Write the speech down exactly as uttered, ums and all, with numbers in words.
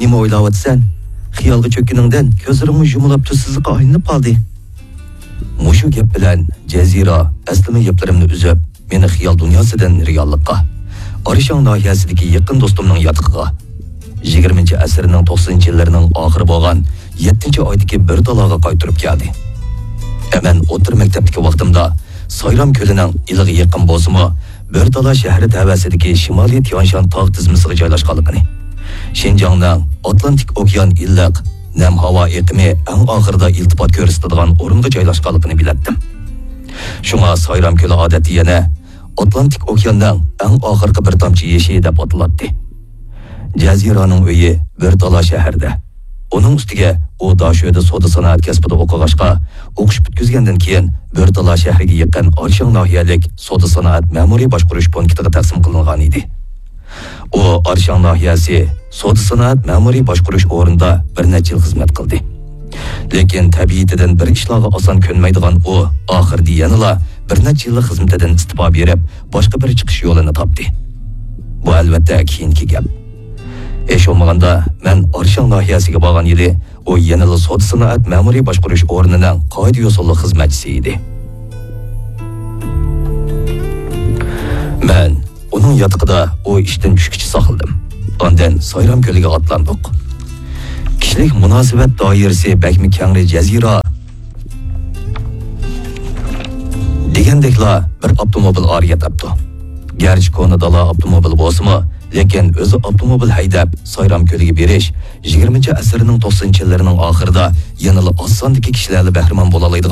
نېمە ئويلاۋاتىسەن؟ خىيالغا چۆككىنىڭدىن كۆزلىرىڭمۇ يۇمۇلاپ تۈسسىزلىككە ئايلىنىپ قالدى. مۇشۇ گەپ بىلەن جەزىرە ئەسلىمە يىپلىرىمنى ئۈزۈپ، مېنى خىيال دۇنياسىدىن رېئاللىققا، ئارشاڭ ناھىيەسىدىكى يېقىن دوستۇمنىڭ ياتىقىغا، يىگىرمىنچى ئەسىرنىڭ توقسىنىنچى يىللىرىنىڭ ئاخىرى بولغان يەتتىنچى ئايدىكى بىر تالاغا قايتۇرۇپ كەلدى. مەن ئوتتۇرا مەكتەپتىكى ۋاقتىمدا سايرام كۆلىنىڭ ئىلىغا يېقىن بولسىمۇ، بىر تالا شەھىرى تەۋەسىدىكى شىمالىي تيانشان تاغ تىزمىسىغا جايلاشقانلىقىنى، شىنجاڭنىڭ ئاتلانتىك ئوكيان ئىللىق، نەم ھاۋا ئېقىمى ئەڭ ئاخىرىدا ئىلتىپات كۆرسىتىدىغان ئورۇنغا جايلاشقانلىقىنى بىلەتتىم. شۇڭا سايرام كۆلى ئادەتتە يەنە ئاتلانتىك ئوكياننىڭ ئەڭ ئاخىرقى بىر تامچە يېشى دەپ ئاتىلاتتى. جەزىرانىڭ ئۆيى بىر تالا شەھەردە. ئۇنىڭ ئۈستىگە ئۇ داشۆدە سودا سانائەت كەسپىدە ئوقۇغاچقا، ئوقۇش پۈتكۈزگەندىن كېيىن بىر تالا شەھىرىگە يېقىن ئارشاڭ ناھىيەلىك سودا سانائەت مەمۇرىي باشقۇرۇش پونكىتىغا تەقسىم قىلىنغان ئىدى. ئۇ ئارشاڭ ناھىيەسى سودا سانائەت مەمۇرىي باشقۇرۇش ئورنىدا بىر نەچچە يىل خىزمەت قىلدى. لېكىن تەبىئىتىدىن بىر ئىشلارغا ئاسان كۆنمەيدىغان ئۇ ئاخىرىدا يەنىلا بىر نەچچە يىللىق خىزمىتىدىن ئىستېپا بېرىپ، باشقا بىر چىقىش يولىنى تاپتى. بۇ ئەلۋەتتە كېيىنكى گەپ. ھېچ بولمىغاندا مەن ئارشاڭ ناھىيەسىگە بارغان يىلى ئۇ يەنىلا سودا سانائەت مەمۇرىي باشقۇرۇش ئورنىنىڭ قائىدە يوسۇنلۇق خىزمەتچىسى ئىدى. مەن ئۇنىڭ ياتىقىدا ئۇ ئىشتىن چۈشكىچە ساقلىدىم. ئاندىن سايرام كۆلىگە ئاتلاندۇق. كىشىلىك مۇناسىۋەت دائىرىسى بەكمۇ كەڭرى جەزىرە دېگەندەكلا بىر ئاپتوموبىل ئارىگە تەپتۇ. گەرچە كونا دالا ئاپتوموبىل بولسىمۇ، لېكىن ئۆزى ئاپتوموبىل ھەيدەپ سايرام كۆلىگە بېرىش يىگىرمىنچى ئەسىرنىڭ توقسىنىنچى يىللىرىنىڭ ئاخىرىدا يەنىلا ئاز ساندىكى كىشىلەرلا بەھرىمەن بولالايدىغان